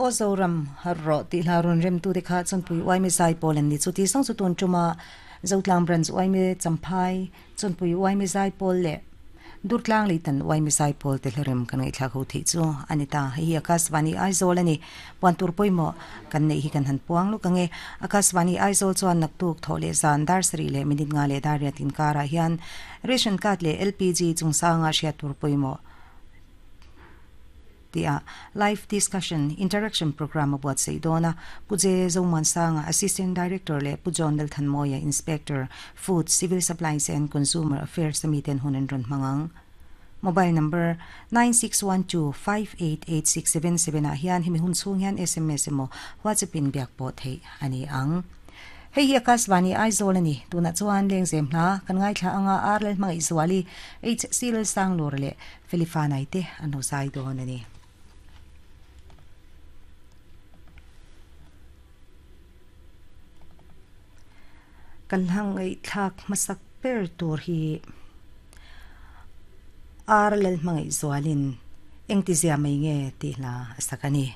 Aw Zoram har rawh tih hla rawn remtute kha Chawnpui Uaime Zaipawl an ni. Chuti zawng chu tun tuma Zotlang Branch Uaime Champhai, Chawnpui Uaime Zaipawl leh Durtlang Leitan Uaime Zaipawl te hlarem kan ngaihthlak ho theih chu a ni ta. Hei hi Akashvani Aizawl a ni. Puan tur pawimawh kan neih hi kan han puang lawk ang e. Akashvani Aizawl chuan naktuk thawh leh zan dar sarih leh minute nga leh dar riat inkarah hian Ration Card leh LPG chungchanga hriat tur pawimawh tia Live Discussion Interaction Programme a buatsaih dawn a. Pu Je Zomuansanga, Assistant Director leh Pu John Lalthanmawia, Inspector, Food, Civil Supplies and Consumer Affairs a miten hun an rawn hmang ang. Mobile number, 9612588677 ah hian hemi hun chhung hian sms emaw WhatsApp in biak pawh theih a ni ang. Hei hi Akashvani Aizawl a ni. Tunah chuan Lengzem hna kan ngaithla anga Ar Lalhmangaihzuali, HC Lalsanglur leh Felifanai te an lo zai dawn a ni. Kan hla ngaihthlak hmasak ber tur hi Ar Lalhmangaihzualin engtizia mai nge tih hla a sak a ni.